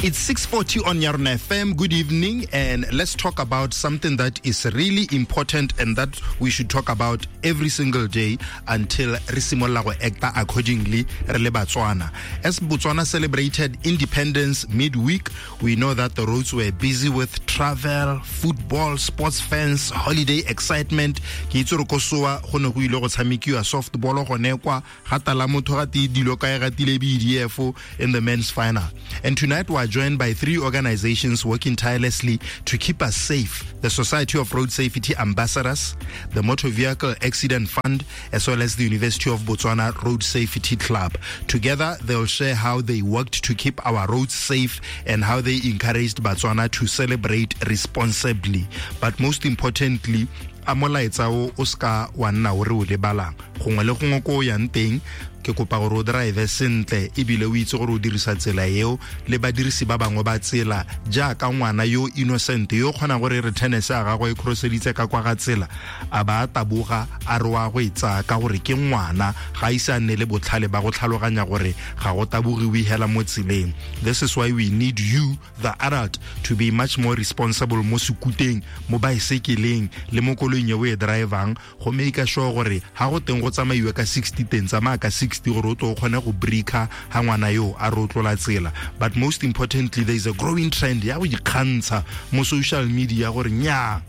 It's 6:40 on Yarona FM. Good evening, and let's talk about something that is really important and that we should talk about every single day until re simolola go acta accordingly re le Batswana. As Botswana celebrated independence midweek, we know that the roads were busy with travel, football, sports fans, holiday excitement. Ke itse gore ko soa go ne go ile go tshamekiwa softball gone kwa ga tala motho ga tee dilo kae ga tile BDF in the men's final. And tonight we are joined by three organizations working tirelessly to keep us safe: the Society of Road Safety Ambassadors, the Motor Vehicle Accident Fund, as well as the University of Botswana Road Safety Club. Together, they'll share how they worked to keep our roads safe and how they encouraged Botswana to celebrate responsibly. But most importantly, a molaetsa o o ska wa nna o re o lebalang gongwe le gongwe ko o yang teng, ke kopa gore o drive sentle ebile o itse gore o dirisa tsela eo le badirisi ba bangwe ba tsela, jaaka ngwana yo innocent yo kgonang gore re tennis ya gagwe e crosseditse ka kwa ga tsela, a ba a taboga a re wa go e tsaya ka gore ke ngwana, ga ise a nne le botlhale ba go tlhaloganya gore ga go tabogiwe hela mo tseleng. This is why we need you, the adult, to be much more responsible mo sekuteng, mo baesekeleng le mo koloing e o e drivang, go make sure gore ha go teng go tsamaiwe ka 60 teng, tsamaya ka 60 gore o tlo o kgone go breaker ha ngwana yo a re o tlola tsela. But most importantly, there is a growing trend ya go ikgantsha mo social media gore nya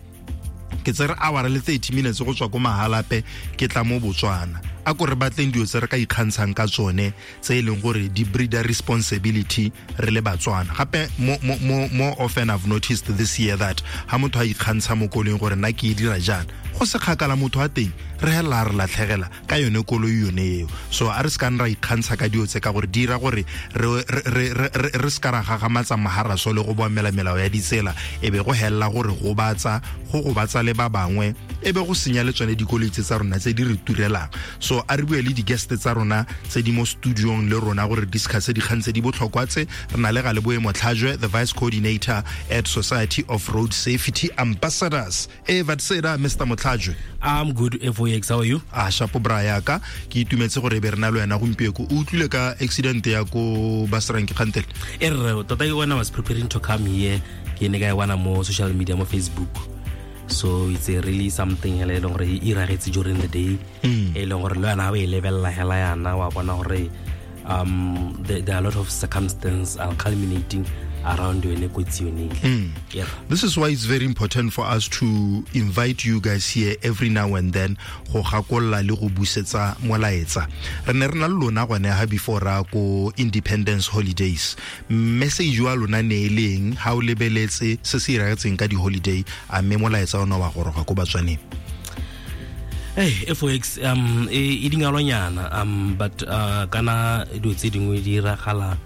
ke tsere hour le 30 minutes go tswa ko Mahalape ke tla mo Botswana. A ko re batleng dilo tse re ka ikgantshang ka tsone tse e leng gore di breeder responsibility re le Batswana. Gape more often I've noticed this year that ha motho a ikgantsha mo koloing gore nna ke e dira jang, go se kgakala motho wa teng re hela re latlhegela ka yone koloi yone eo. So a re se kang ra ikgantsha ka dilo tse ka gore di dira gore re se ka ra gagamatsa maharaso le go boamela melao ya ditsela, e be go hella gore gobatsa go gobatsa le ba bangwe, e be go senya le tsone dikoloi tse tsa rona tse di re turelang. So a re bue le di-guest tsa rona tse di mo studiong le rona gore discuss dikgang tse di botlhokwa tse. Re na le Galeboe Motlhajwe, the vice coordinator at Society of Road Safety Ambassadors. Vatseda, Mr. Motlhajwe. I'm good, FOX, how are you? A shapo bra yaka, ke itumetse gore be re na le wena gompieno. O utlwile ka accident ya ko Basrank kgantele? E rre, tota when I was preparing to come here, ke ne ka e bona mo social media, mo Facebook. So it's a really something e leng gore e iragetse during the day. E leng gore le wena ha o e lebella hela yana, wa bona gore, there are a lot of circumstances are culminating around yone kotsi yone. Yeah. This is why it's very important for us to invite you guys here every now and then go gakolla le go busetsa molaetsa. Re ne re na le lona gone ha before ra ko independence holidays. Message wa lona ne e leng ha o lebeletse se se iragetseng ka di holiday, a mme molaetsa ona wa goroga ko Batswaneng? Hey, FOX, e dingalonyana, but kana dilo tse dingwe di iragala,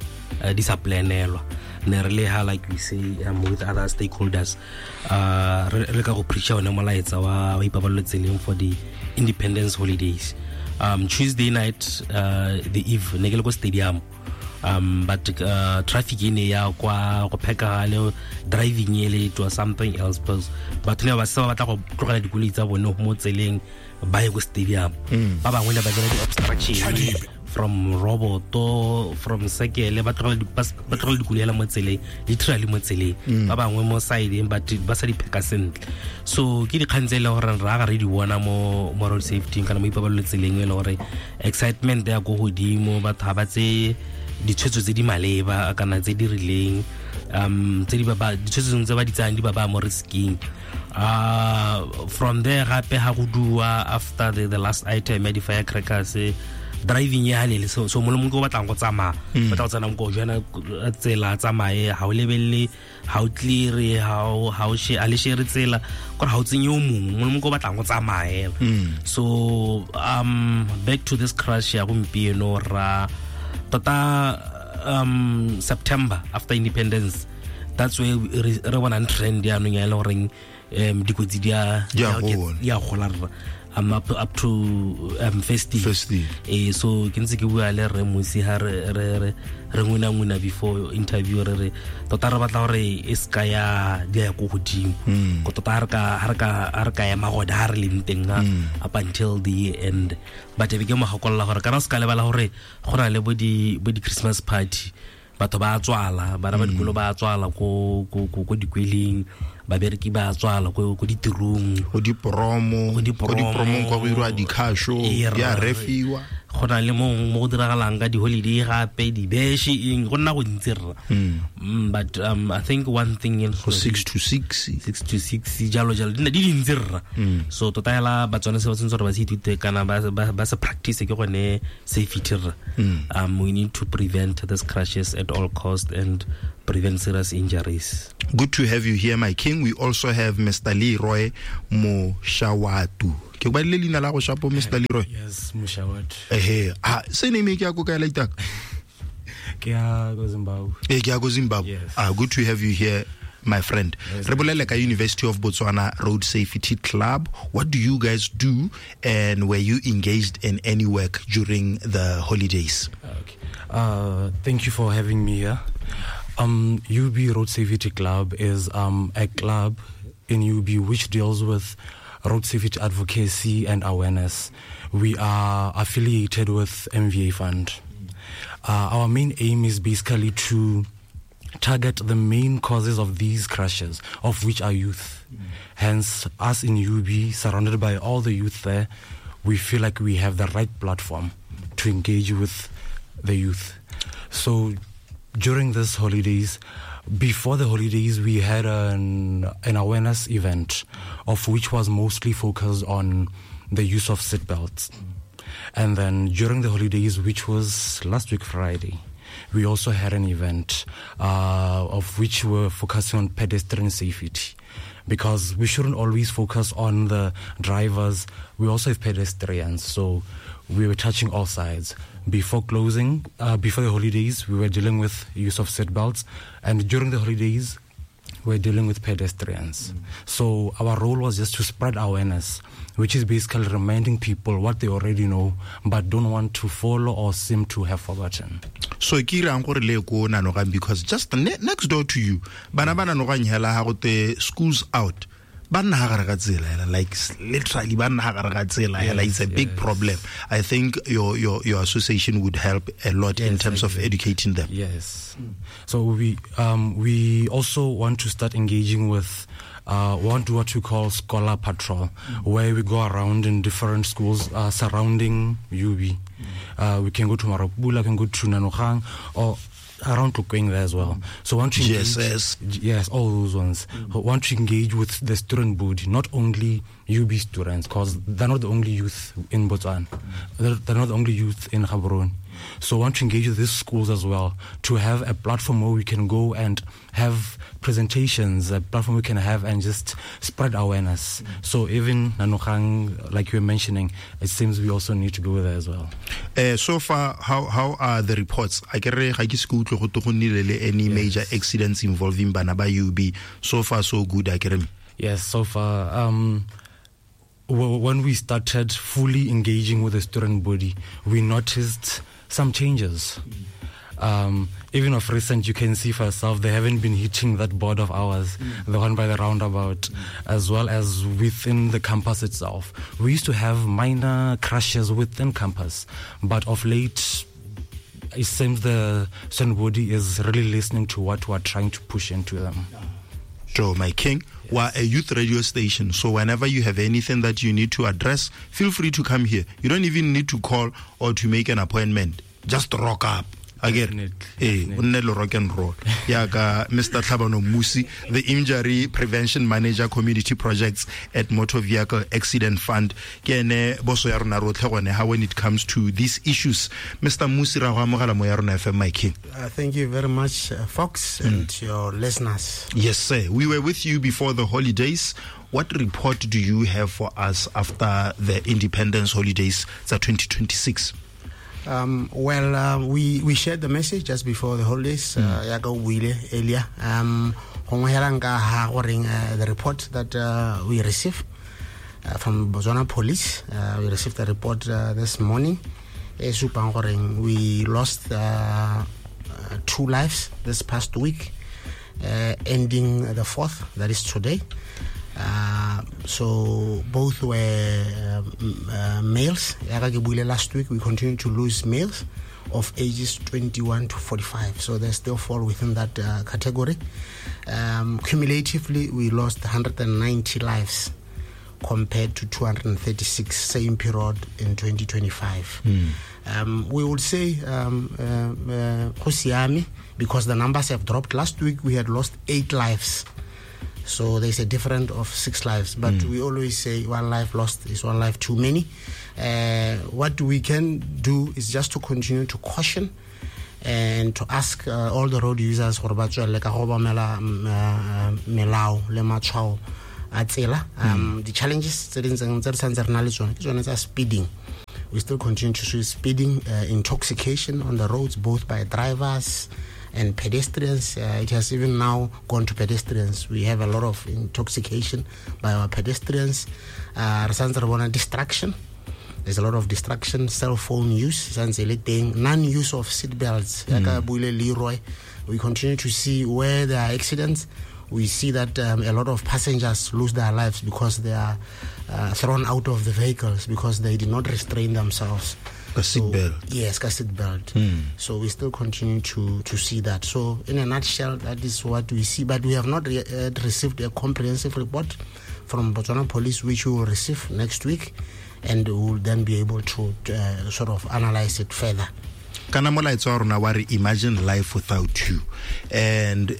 di sa planelwa. Ne re le ha, like we say, with other stakeholders, re ka go preacha one molaetsa wa ipabalelo tseleng for the independence holidays. Tuesday night, the eve, ne ke le ko stadium. But traffic e ne ya kwa go phekagale, driving e le it was something else, because batho ne ba se ba batla go tlogela dikoloi tsa bone mo tseleng ba ye ko stadium. Ba bangwe ne ba dira di-obstruction from roboto, from sekele, ba tlogela ba tlogela dikoloi hela mo tseleng, literally mo tseleng. Ba bangwe mo sideng, but ba sa di pheka sentle. So ke dikgang tse e leng gore ra ga re di bona mo road safety kana mo ipabalelo tseleng, e leng gore excitement ya ko godimo, batho ga ba tseye ditshwetso tse di maleba kana tse di rileng, tse di ba ba, ditshwetso tse ba di tsayang di ba ba mo risking. From there gape ha go dua after the last item ya di-firecrackers, driving ya halele, so mo le mongwe o batlang go tsamaya, batla go tsena mo jana tsela, tsamaye, ha o lebelle, ha o clear, ha o she, a le share tsela, gore ha o tsenye o mongwe, mo le mongwe o batlang go tsamaya. So back to this crash ya gompieno, ra tota, September after independence, that's where re bonang trend yaanong ya e le goreng, dikotsi di a Di a gola. Di a gola rra. Up to festive. Festive. So ke ntse ke bua le Rre Musi ha re ngwina ngwina before interview, re re tota re batla gore e ska ya di ya ko godimo. Ko tota ha re ka ema gone ha re leng teng ha, up until the end. But e be ke mo gakolola gore kana o ska lebala gore go na le bo di Christmas party. Batho ba tswala, bana ba dikolo ba tswala ko dikweleng, babereki ba tswala ko ditirong, go dipromo kwa go irwa dikhasho, di a refiwa. Go na le mo go diragalang ka di-holiday gape, dibeshe eng, go nna go ntsi rra. But I think one thing in 6 to 6 6 to 6 jalo jalo di dintsi rra. So tota hela Batswana se ba tshwanetse gore ba se ithute kana ba se practice ke gone safety rra. We need to prevent these crashes at all cost and prevent serious injuries. Good to have you here, my king. We also have Mr. Leroy Moshawatu. Ke ba le leina la go shapo Mr. Leroy? Yes, Moshawatu. Eh, se name ke ya go kae la itaka? Ke ya go Zimbabwe. Eh, ke ya go Zimbabwe. Yes. Good to have you here, my friend. Yes. Re bolele ka University of Botswana Road Safety Club. What do you guys do, and were you engaged in any work during the holidays? Okay. Thank you for having me here. UB Road Safety Club is a club in UB which deals with road safety advocacy and awareness. We are affiliated with MVA Fund. Our main aim is basically to target the main causes of these crashes, of which are youth. Hence, us in UB, surrounded by all the youth there, we feel like we have the right platform to engage with the youth. So during these holidays, before the holidays, we had an awareness event, of which was mostly focused on the use of seatbelts. And then during the holidays, which was last week Friday, we also had an event of which we were focusing on pedestrian safety, because we shouldn't always focus on the drivers. We also have pedestrians, so we were touching all sides. Before closing, before the holidays, we were dealing with use of seatbelts, and during the holidays, we were dealing with pedestrians. So our role was just to spread awareness, which is basically reminding people what they already know, but don't want to follow or seem to have forgotten. So ke irang gore le ko Nanogang, because just next door to you, bana ba Nanogang hela ha go te schools out. Ba nna ha gare ga tsela hela, like literally ba nna ha gare ga tsela hela. It's a big problem. I think your association would help a lot in terms of educating them. Yes. So we also want to start engaging with want to what we call scholar patrol, where we go around in different schools surrounding UB. We can go to Marokbula, can go to Nanogang, or around Tlokweng there as well. So want to engage, yes, all those ones. Want to engage with the student body, not only UB students, because they're not the only youth in Botswana. They're not the only youth in Gaborone. So want to engage with these schools as well, to have a platform where we can go and have presentations, a platform we can have and just spread awareness. So even Nanogang, like you were mentioning, it seems we also need to go there as well. So far, how are the reports? I any major accidents involving bana ba UB? So far, so good. Yes, so far. When we started fully engaging with the student body, we noticed some changes. Even of recent, you can see for yourself, they haven't been hitting that board of ours, the one by the roundabout, as well as within the campus itself. We used to have minor crashes within campus, but of late, it seems the student body is really listening to what we're trying to push into them. Joe, my king, yes. We're a youth radio station, so whenever you have anything that you need to address, feel free to come here. You don't even need to call or to make an appointment. Just rock up. Again, rock and roll. Yaka, Mr. Tlhabano Mmusi, the Injury Prevention Manager, Community Projects at Motor Vehicle Accident Fund. Ke ene boso ya rona rotlhe gone ha when it comes to these issues. Mr. Mmusi, ra go amogela mo ya rona FM, my king. Thank you very much, Fox, and your listeners. Yes, sir. We were with you before the holidays. What report do you have for us after the Independence holidays tsa 2026? We shared the message just before the holidays. Yaka o buile earlier. The report that we received from Botswana Police, we received the report this morning. We lost 2 lives this past week, ending the 4th, that is today. So both were males. Last week we continue to lose males. of ages 21 to 45. So they still fall within that category. Cumulatively, we lost 190 lives compared to 236 same period in 2025. We would say go siame, because the numbers have dropped. Last week we had lost 8 lives. So there's a difference of 6 lives. But we always say one life lost is one life too many. What we can do is just to continue to caution and to ask all the road users gore ba tswelele ka go obamela melao le matshwao a tsela. The challenges tse di ntseng tse re santse re na le tsone ke tsone tsa speeding. We still continue to see speeding, intoxication on the roads, both by drivers and pedestrians. It has even now gone to pedestrians. We have a lot of intoxication by our pedestrians. Re santse re bona distraction. There's a lot of distraction, cell phone use, santse e le teng, non-use of seat belts. Yaka buile Leroy, we continue to see where there are accidents. We see that a lot of passengers lose their lives because they are thrown out of the vehicles because they did not restrain themselves. Ka seat belt. Yes, ka seat belt. So we still continue to see that. So in a nutshell, that is what we see. But we have not received a comprehensive report from Botswana Police, which we will receive next week, and we will then be able to sort of analyze it further. Kana molaetsa wa rona wa re imagine life without you. And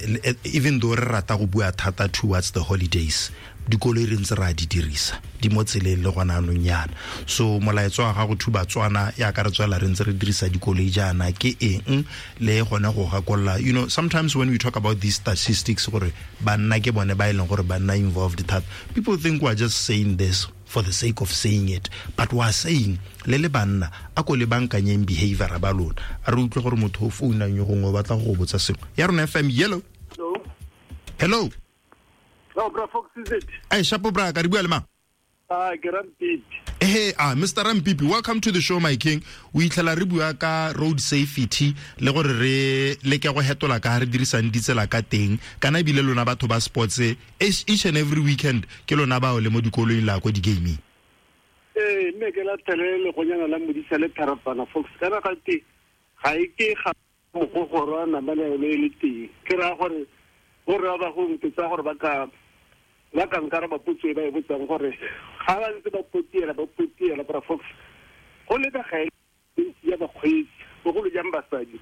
even though re rata go bua thata towards the holidays, dikoloi re ntse re a di dirisa di mo tseleng le gona anong yana. So molaetsa wa gago to Batswana ya ka re tswela re ntse re dirisa dikoloi jaana ke eng le gone go gakolola. You know, sometimes when we talk about these statistics gore banna ke bone ba e leng gore banna involved thata, people think we are just saying this for the sake of saying it, but we are saying le le banna a ko le bankanyeng behavior ba lona. A re utlwe gore motho o founang yo gongwe o batla go botsa sengwe. Ya rona FM, yellow. Hello. Hello. No, bra Fox, is it? Hey, shapo bra, ka re bua le mang? Ke Rampipi. Hey, Mr. Rampipi, welcome to the show, my king. O itlhela re bua ka road safety le gore re leke go hetola ka re dirisang ditsela ka teng. Kana ebile lona batho ba sports each and every weekend ke lona bao le mo dikoloing la ko di-gaming. Mme ke la thelele go nyana la modisa le tharapana Fox. Kana ga te ga e ke ga mogogoro a namane le le teng. Ke ra gore go re ba go ntse gore ba ka nkara ba potso e ba e botsang gore ga ba ntse ba potiela bra Fox, go lebega e ya bakgweetsi bogolo jang basadi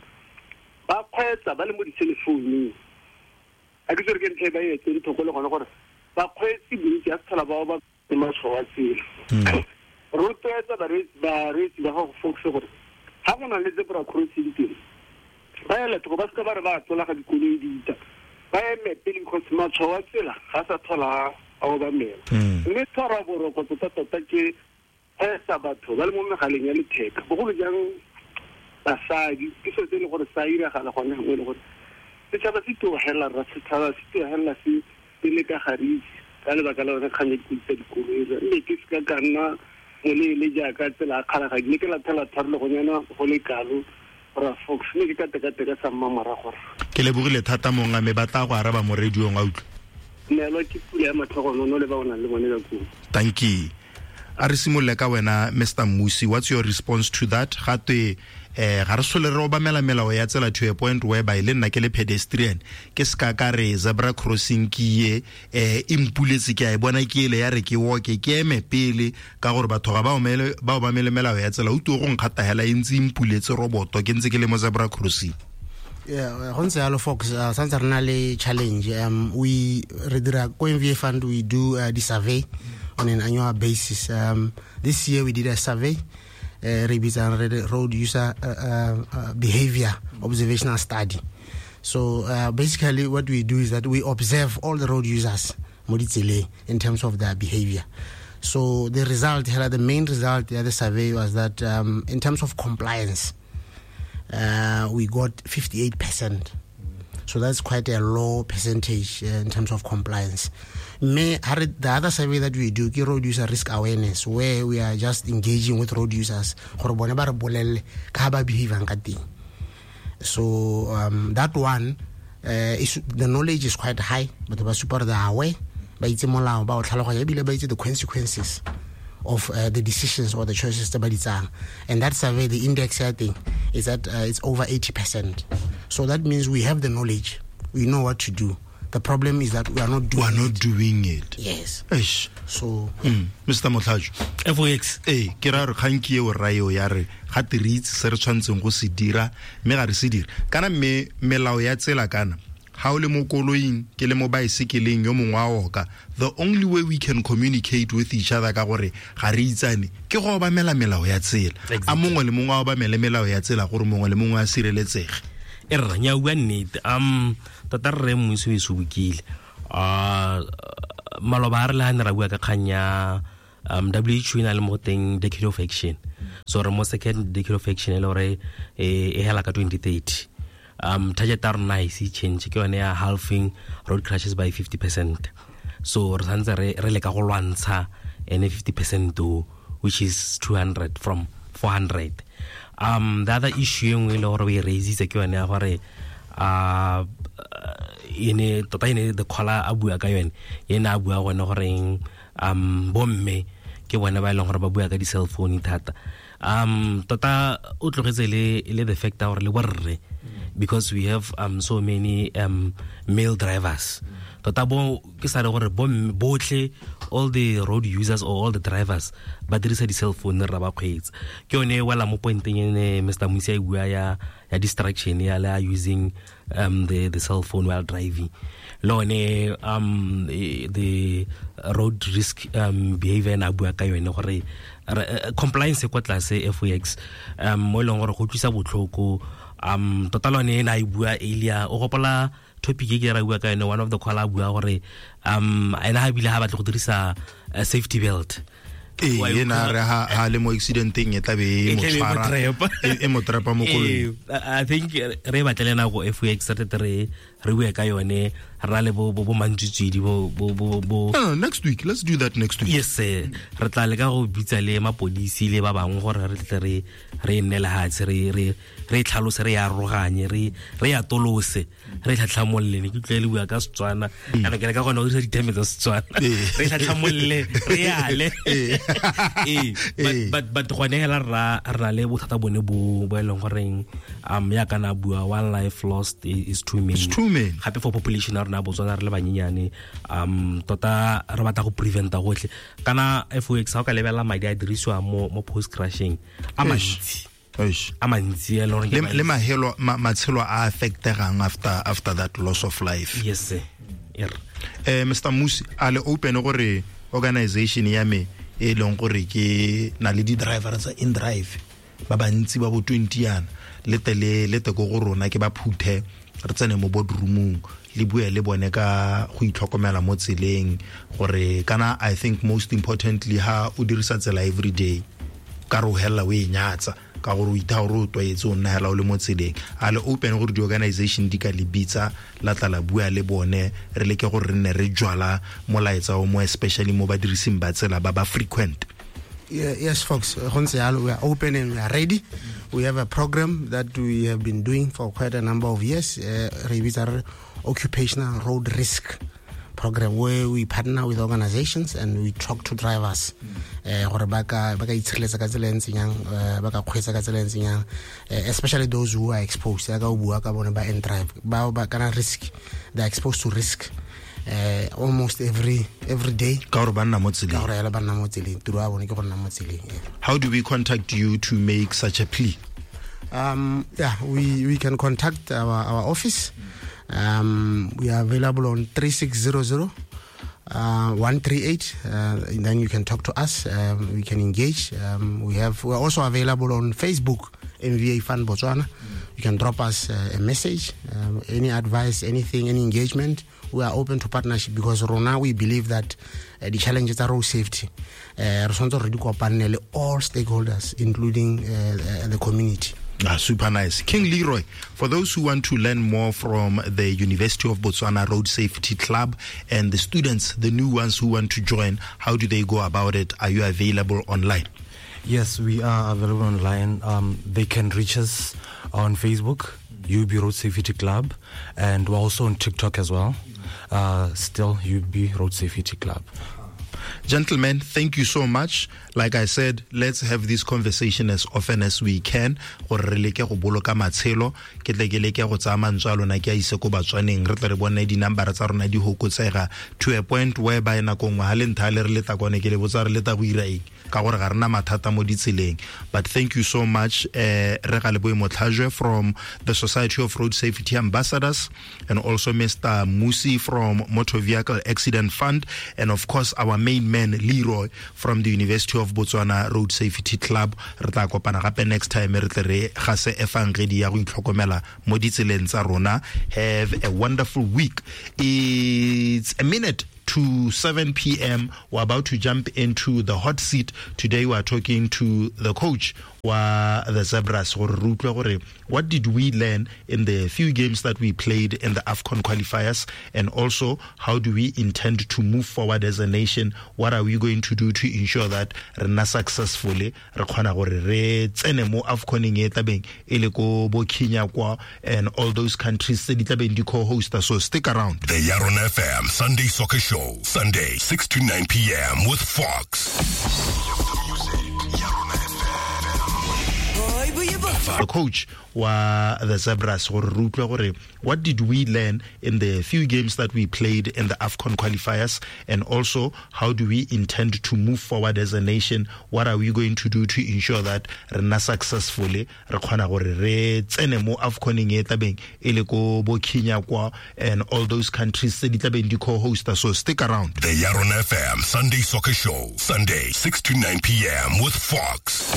ba kgweetsa ba le mo di-cellphone. A ke tsere ke ntlha e ba e etseng thoko le gone gore bakgweetsi bontsi a se tlhola bao ba matshwao a tsela. Rotloetsa bareetsi ba gago Fox gore ga go na le zebra crossing teng ba ele thoko, ba seka ba re ba tlola ga dikoloi di ita, ba eme pele because matshwao a tsela ga sa tlhola a obamela. Mme tshwara boroko tota-tota ke kgweetsa batho ba le mo megaleng ya letheka, bogolo jang basadi. Ke selo se e leng gore sa iragala gone gangwe e le gore setšhaba se tlogelela rra, setšhaba se tlogelela se le ka garitse ka lebaka la yone kgang ya dikoloi tsa dikoloi. Mme ke seka ka nna moleele jaaka tsela a kgalagadi, ne ke lathela tharologonyana go le kalo bra Fox, mme ke ka tekateka sa mmamorago. Ke lebogile thata monga me ba tla go araba mo radiong a utlwa. Neelwa ke pula ya matlhogonono le ba o nang le bone ka koo. Thank you. A re simolole ka wena Mr. Mmusi, what's your response to that? Gatwe ga re sole re obamela melao ya tsela to a point whereby le nna ke le pedestrian ke ska ka re zebra crossing ke ye e mpuletse ke a e bona ke ele ya re ke walke ke eme pele ka gore batho ga ba obamele melao ya tsela, o tlo go nkgata hela e ntse e mpuletse roboto ke ntse ke le mo zebra crossing. Yeah, go ntse yalo Fox, santse re na le challenge. We re dira ko MVA Fund, we do the survey on an annual basis. This year we did a survey, re bitsang road user behavior observational study. So basically what we do is that we observe all the road users mo ditseleng in terms of their behavior. So the result, the main result of the survey was that in terms of compliance, we got 58%. So that's quite a low percentage in terms of compliance. The other survey that we do, road user risk awareness, where we are just engaging with road users. So that one, is, the knowledge is quite high, but the super aware, the consequences of the decisions or the choices tse ba di tsayang. And that survey, the index ya teng is that it's over 80%. So that means we have the knowledge, we know what to do. The problem is that we are not doing it. It. Yes. Eish. So Mr. Motlhajo. FOX. Ke ra re kgang ke eo rra eo ya re ga te re itse se re tshwanetseng go se dira mme ga re se dire. Kana mme melao ya tsela kana ga o le mo koloing ke le mo baesekeleng yo mongwe a oka, the only way we can communicate with each other ka gore ga re itsane ke go obamela melao ya tsela. A mongwe le mongwe a obamele melao ya tsela gore mongwe le mongwe a sireletsege. E rra nya bua nnete. Tota rre Mmusi o e sobokile. Maloba a re le ga ne ra bua ka kgang ya WHO e na le mo teng decade of action. So re mo second decade of action e le gore e hela ka 2030. Target ya rona e se change ke yone ya halving road crashes by 50%. So re santse re leka go lwantsha ene 50% o, which is 200 from 400. The other issue e nngwe e le gore o e raisitse ke yone ya gore ene tota ene the caller a bua ka yone, ene a bua gone goreng bomme ke bone ba e leng gore ba bua ka di-cell phone thata. Tota o tlogetse le the fact gore le borre, because we have so many male drivers. Tota bo ke sa re gore botlhe all the road users or all the drivers ba dirisa di-cell phone ra ba kgweetsa. Ke yone e wela mo pointeng ene Mr. Musi a e bua ya distraction ya le using the cell phone while driving. Le one the road risk behavior na bua ka yone gore compliance kwa tlase FOX mo e leng gore go tlisa botlhoko. Tota lone ena e bua earlier, o gopola topic e ke ra bua ka yone, one of the caller bua gore ena ha bile ha batla go dirisa safety belt. Ena re ha le mo accidenteng e tla be e mo tshwara e mo trapa mo koloing. I think re batlele nako FOX re bue ka yone, re na le bo mantswitswidi bo No, next week, let's do that next week. Yes sir. Re tla leka go bitsa le mapodisi le ba bangwe gore re tle re nne lehatshe re tlhalose, re aroganye, re atolose, re tlhatlhamolle. Ne ke utlwe le bua ka Setswana, kana ke le ka gona go dirisa diteme tsa Setswana, re tlhatlhamolle, re ale. But gone hela ra na le bothata bone bo e leng goreng ya kana bua one life lost is too many. It's too many. Gape for population ya rona Botswana re le banyenyane, tota re batla go preventa gotlhe. Kana FOX ha o ka lebella madi a dirisiwa mo post crashing a mantsi. A mantsi e leng le mahelo matshelo a affectegang after that loss of life. Yes sir. Mr. Musi, a le open gore organization ya me e leng gore ke na le di-driver tsa in-drive ba bantsi ba bo 20 yana le te ko go rona ke ba phuthe re tsene mo boardroomong le bue le bone ka go itlhokomela mo tseleng gore kana I think most importantly ha o dirisa tsela every day ka re o hella o e nyatsa ka gore o itha gore o tlwaetse o nna hela o le mo tseleng. A le open gore di-organization di ka le bitsa la tla la bua le bone re leke gore re nne re jwala molaetsa o mo especially mo badirising ba tsela ba ba frequent. Yes, folks, we are open and we are ready. We have a program that we have been doing for quite a number of years, occupational road risk program, where we partner with organizations and we talk to drivers. Gore ba ka itshireletsa ka tsela e ntseng yang, ba ka kgweetsa ka tsela e ntseng yang, especially those who are exposed. Ya ka o bua ka bone ba end drive, ba kana risk, they are exposed to risk almost every day. Ka gore ba nna mo tseleng. Ka gore ba nna mo tseleng, tiro ya bone ke go nna mo tseleng. How do we contact you to make such a plea? We can contact our office. We are available on 3600 138. And then you can talk to us. We can engage. We are also available on Facebook, MVA Fund Botswana. You can drop us a message, any advice, anything, any engagement. We are open to partnership because Rona, we believe that the challenges are road safety. Re tshwanetse re di kopane le all stakeholders, including the community. Super nice. King Leroy, for those who want to learn more from the University of Botswana Road Safety Club and the students, the new ones who want to join, how do they go about it? Are you available online? Yes, we are available online. They can reach us on Facebook, UB Road Safety Club, and we're also on TikTok as well. Still UB Road Safety Club. Gentlemen, thank you so much. Like I said, let's have this conversation as often as we can. Gore re leke go boloka matshelo, ke tle ke leke go tsaya mantswe a lona ke a ise ko Batswaneng, re tle re bone di-number tsa rona di hokotsega to a point whereby nako nngwe ga le ntha le re leta kone ke le botsa re leta go ira eng, ka gore ga rena mathata mo ditseleng. But thank you so much, Re Galeboe Motlhajwe from the Society of Road Safety Ambassadors, and also Mr. Musi from Motor Vehicle Accident Fund, and of course our main man Leroy from the University of Botswana Road Safety Club. Re tla kopana gape next time re tle re gase efangedi ya go itlhokomela mo ditseleng tsa rona. Have a wonderful week. It's a minute to 7 p.m. We're about to jump into the hot seat. Today we are talking to the coach wa the Zebras. Gore re utlwe gore what did we learn in the few games that we played in the AFCON qualifiers, and also how do we intend to move forward as a nation? What are we going to do to ensure that re nna successfully, re kgona gore re tsene mo AFCONeng e tlabeng e le ko bo Kenya kwa and all those countries tse di tlabeng di co-hosta. So stick around. The Yarona FM Sunday Soccer Show, Sunday 6 to 9 p.m. with Fox. The coach wa the Zebras, gore re utlwe gore what did we learn in the few games that we played in the AFCON qualifiers, and also how do we intend to move forward as a nation? What are we going to do to ensure that re nna successfully, re kgona gore re tsene mo AFCONeng e tlabeng e le ko bo Kenya kwa and all those countries tse di tlabeng di co-hosta. So stick around. The Yarona FM Sunday Soccer Show, Sunday 6 to 9 p.m. with Fox.